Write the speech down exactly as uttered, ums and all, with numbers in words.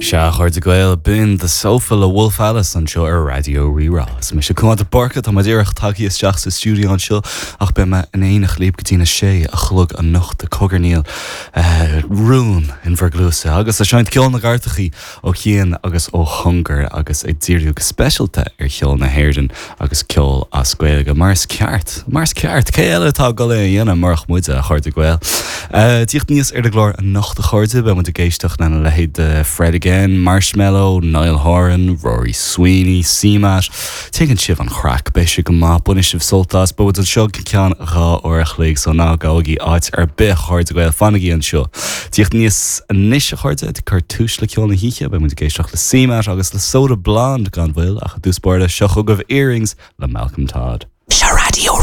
Sea, a chairde Gael b'in The Sofa le Wolf Alice anseo ar Raidió Rí-Rá. Is mise Cuán de Búrca tá mé díreach tagtha isteach sa stiúideo anseo ach beidh mé in éineacht libh go dtí a sé a chlog anocht ag cogarnaíl rún in bhur gcluasa agus ag seinnt ceol na gcairteacha ó chian agus ó chóngar agus ag díriú go speisialta ar cheol na hÉireann agus ceol as Gaeilge mar is ceart mar is ceart cé eile atá ag dul é a dhéanamh murach muide a chairde Gael. Tíocht aníos ar an gclár anocht a chairde beidh muid ag éisteacht lena leithéid de Fred Again, Marshmello, Niall Horan, Rory Sweeney, CMAT, Tuigeann sibh an chraic beidh sé go maith bainfidh sibh sult as beidh anseo go ceann dhá uair a chloig so ná gabhaigí áit ar bith a chairde Gael fanaigí anseo. Tíocht aníos anois a chairde ag cur tús le ceol na hoíche beidh muid ag éisteacht le CMAT agus le Soda Blonde gan mhoill ach i dtús báire seo chugaibh Earrings le Malcolm Todd. Seo Raidió